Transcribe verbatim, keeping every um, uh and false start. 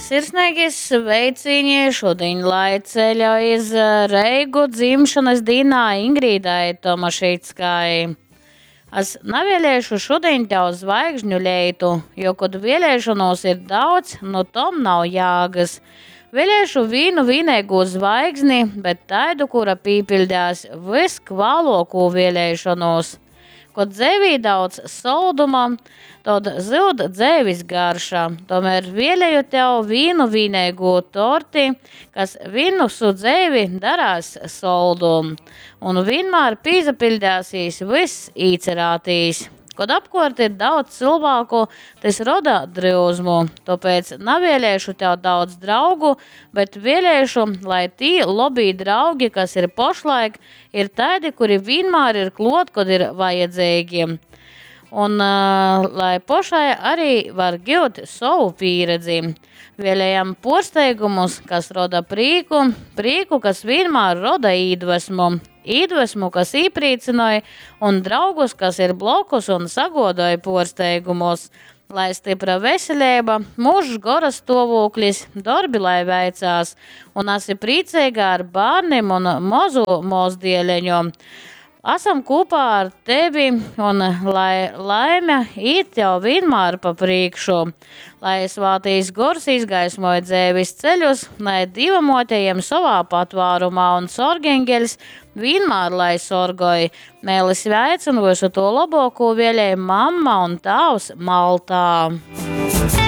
Sirsneigi sveicīņi šudiņ, lai ceļa iz Reigu dzimšanas dīnā Ingrīdai Tomašickai. Es navēlēšu šudiņ tev zvaigžņu leitu, jo, kod vēlēšanos ir daudz, nu tom nav jāgas. Vēlēšu vīnu vīneigū zvaigzni, bet taidu, kura pīpildās viskvālokū vēlēšanos. Kod dzēvī daudz solduma, tod zyud dzēvis garša. Tomēr vēlēju tev vīnu vīneigū torti, kas vinusu dzēvi darās soldu. Un vienmēr pīzapildēsīs vyss īcerātīs. Kod apkort ir daudz cilvēku, tas roda dryuzmu. Tāpēc navēlēšu tev daudz draugu, bet vēlēšu, lai tī lobī draugi, kas ir pošlaik, ir taidi, kuri vienmēr ir klot, kod ir vajadzīgi. Un uh, lai pošai arī var giut savu pieredzi. Vēlējam porsteigumus, kas roda prīku, prīku, kas vienmēr roda īdvesmu, īdvesmu, kas īprīcināja, un draugus, kas ir blokus un sagodoja porsteigumus. Lai stipra veselība, mūžs gora stāvoklis, darbi lai veicās, un esi priecīga ar bērniem un mazu mozdieleņu. Esam kopā ar tevi, un lai laime īt tev vienmēr pa priekšu. Lai svātīs gors izgaismoja dzēvis ceļus, lai Dieva motejiem savā patvārumā un sorgengeļs vienmēr lai sorgoj. Mēli sveic un visu to labāko vēlēja mamma un tāvs Maltā.